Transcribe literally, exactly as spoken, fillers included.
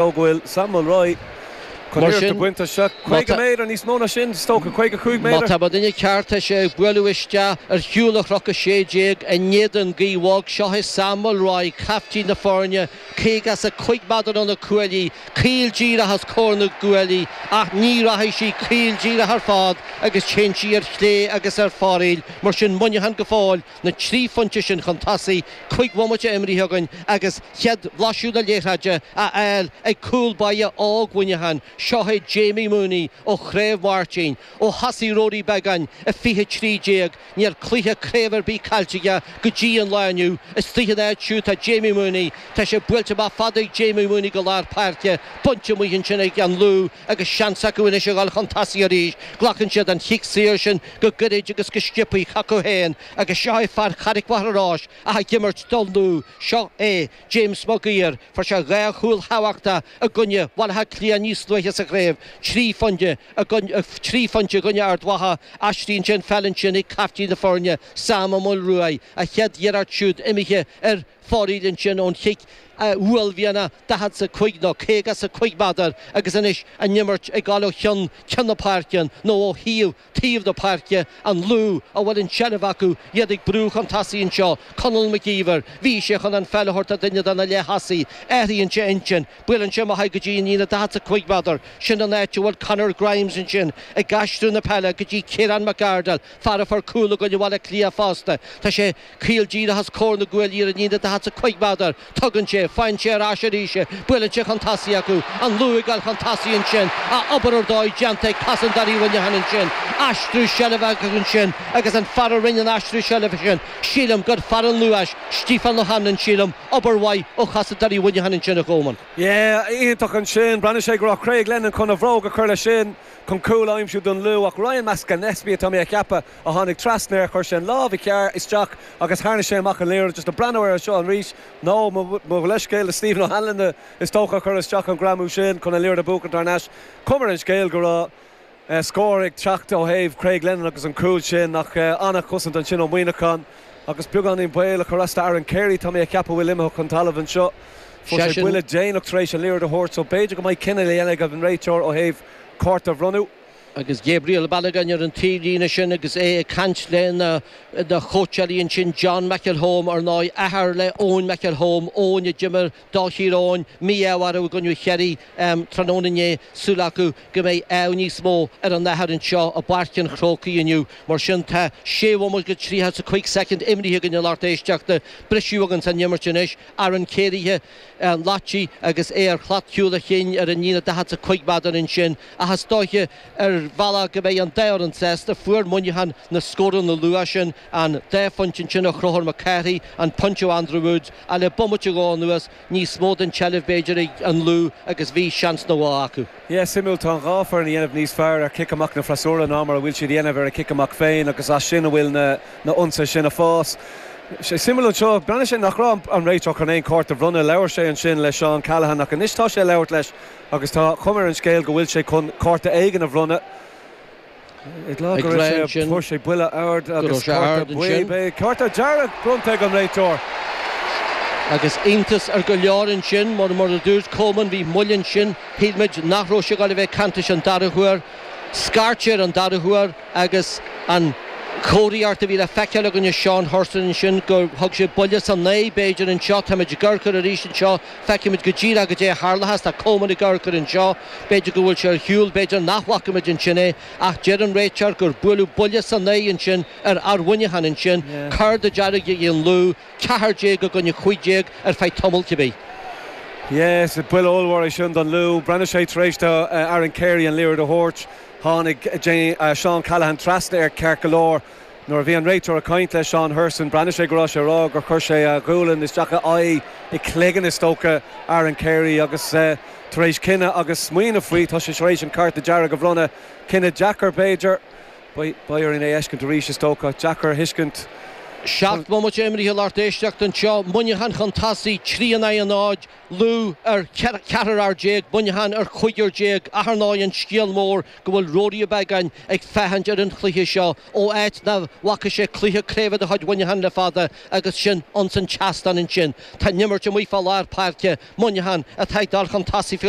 Go bhfuil Sam Mulroy chun Mar iarracht sin, a bhaint as seo má caoga méadar níos mó ná sin is dócha caoga cúig Má méadar. tá mo dhuine ceart sé ag bualadh isteach ar shiúl a chnoc a sé déag in éadan gaoth bhog seo é Sam Mulroy caiftín na foirne caoga is a cúig méadar ó na cuaillí, caol díreach os comhair na gcuaillí ach ní rachaidh sí caol díreach ar fad agus téann sí ar chlé agus ar fóraoil mar sin Muineachán go fóill na trí phointe sin chun tosaigh cúig bhomaite imeartha againn agus chéad bhlaiseadh na liathróide a fháil ag cúl báire óg Mhuineacháin seo é Jamie Mooney ó Chraobh Mháirtín ó thosaigh Rory Beggan a fiche trí déag níl cluiche craoibhe ar bith caillte aige go dtí an lá inniu istigh in áit siúd tá Jamie Mooney tá sé buailte amach fada ag Jamie Mooney go lár páirce bainte amach ansin ag an Lú agus seans acu anois a dhul chun tosaigh arís glacann siad an chic saor sin go gairid agus go sciobtha chucu féin agus seo é fear Charraig Mhachaire Rois ach ag imirt don Lú seo é James Maguire fuair sé dhá chúl thábhachtach i gcoinne Bhaile Átha Cliath níos luaithe sa chraobh trí phointe trí phointe i gcoinne Ard Mhacha aistríonn sin peil ansin ag caiftín na foirne Sam Ó Maolruaidh a chéad iarracht siúd imithe ar fóraoil ansin ón chic uaillmhianach daichead is a cúig nó caoga is a cúig méadar agus anois an imirt ag dul ó cheann ceann na páirce nó ó thaobh taobh na páirce an Lú a bhfuil an tseilbh acu iad ag brú chun tosaigh anseo Conall McGeever bhí sé chun an pheil a thabhairt do dhuine de na leath-thosaithe athraíonn sé intinn buaileann sé amach go dtí an líne daichead is a cúig méadar sin an áit a bhfuil Conor Grimes ansin ag aistriú na peile go dtí Ciarán McArdle fear a fuair cúl i gcoinne Bhaile Átha Cliath fosta Tá sé caol díreach os comhair na gcuaillí ar an líne daichead is a cúig méadar tugann sé faigheann sé ar ais arís buaileann sé chun tosaigh acu an Lú ag dul chun tosaigh ansin a obair ar dóigh déanta ag cosantóirí Mhuineacháin ansin aistriú seilbhe ansin agus an fear a rinne an aistriú seilbhe sin sílim gur fear an Luais Stephen O'Hanlon sílim obair mhaith ó chosantóirí Mhuineacháin ansin a Chomáin. Yeah, iontach ansin breathnaigh sé go raibh Craig Lennon chun a bhróg a chur leis sin chun cúl a aimsiú don Lú ach Ryan McAnespie tá mé a cheapadh a tháinig trasna chuir sé an lámh cheart isteach agus tharraing sé amach an liathróid just a breathnú ar seo arís nó mo leithscéal le Stephen O'Hanlon is dócha chur isteach an greamú sin chun an liathróid a bhuachan thar n-ais. Cuma ar an scéal go raibh uh, scór ag teacht ó thaobh Craig Lennon agus an cúl sin ach uh, an-chosaint ansin ó Mhuineachán agus beagáinín baol a chur as Aaron Carey tá mé a cheapadh bhfuil imithe chun talaimh anseo. Fuair sé buille déanach tar éis an liathróid a thabhairt so b'fhéidir go mbeidh cinneadh le dhéanamh ag an réiteoir ó thaobh cárta a bhronnadh. agus Gabriel Balogun ar an taobhlíne sin agus é ag caint le na na cóitseálaí ansin John McElholm ar ndóigh athair le Eoin McElholm Eoin a d'imir do Thír Eoghain mí-ádh i gcoinne Chiarraí um, tráthnóna inné súil acu go mbeidh ádh níos mó ar an athair anseo i bPáirc an Chrócaigh inniu mar sin tá sé bhomaite go tríocha is a cúig soicind imeartha againn lucht éisteachta briseadh againn san imirt anois Aaron Carey an Latí agus é ar shlat chúl a chinn ar an líne daichead is a cúig méadar ansin ach is dóiche ar bhealach go mbeidh an dá fhoireann sásta fuair Muineachán na scóranna luath sin an dá phointe sin ó Chonchúr Mac Cárthaigh an pointe ó Andrew Woods a le bomaite go anuas níos mó den tseilbh b'fhéidir ag an Lú agus bhí seans nó acu. Yes, suimiúil tá an dhá fhoireann ag déanamh níos fearr ar cic amach na freasúra ná mar a bhfuil siad dhéanamh ar a cic amach féin agus as sin a bhfuil na na ionsaithe sin ag fás. Sé suimiúil anseo breathnaigh sé nach raibh an réiteoir chun aon cárta a bhronnadh labhair sé ansin le Seán Callahan ach anois tá sé labhairt leis agus tá cuma ar an scéal go bhfuil sé chun cárta éigin a bhronnadh. Ag go fuair sé buille ard agus cárta dearg bronnta ag an réiteoir. Agus iontas ar go leor ansin mar mar a dúirt Coleman bhí moill ansin shíl muid nach raibh sé ag bheith cantais an dara huair, Scairt ar an dara huair agus an chomharthaíocht a bhí le feiceáil againne Seán Thurston ansin gur thug sé buille san aghaidh b'fhéidir anseo táimid ag amharc arís anseo feicimid go díreach go dté tharlathas tá Coleman ag amharc anseo b'fhéidir go bhfuil sé ar shiúl b'fhéidir nach bhfacaimid ansin é ach deir an réiteoir gur buaileadh buille san aghaidh ansin ar fhear Mhuineacháin ansin cárta dearg an Lú ceathair déag i gcoinne cúig déag ar feadh tamaill cibé. Yes, buille ollmhór é sin don Lú, Breathnaigh sé tar éis do uh, Aaron Carey an liathróid a thabhairt tháinig uh, Seán Callahan trasna ar ceart go leor. Nuair a bhí an réiteoir ag caint le Seán Thurston breathnaigh sé go raibh sé rá gur chuir sé a ghualainn isteach a aghaidh i gcloigeann is dócha Aaron Carey agus uh, tar éis cinneadh agus smaoineamh faoi tá sé tar éis an cárta dearg a bhronnadh cinneadh deacair b'fhéidir Beidh orainn é a fheiscint arís is dócha deacair a thuiscint Seacht mbomaite imeartha lucht éisteachta anseo, Muineachán chun tosaigh, trí in aghaidh a náid, Lú ar cheathrar fhear déag, Muineachán ar chúigear déag. Ach ar ndóigh an scéal mór go bhfuil Ruairí Ó Beagáin ag féachaint ar an chluiche seo ó áit nach bhfaca sé cluiche craoibhe de chuid Mhuineacháin le fada agus sin ins an tseastán ansin. Tá an imirt amuigh fá lár páirce, Muineachán atá ag dul chun tosaigh faoi láthair.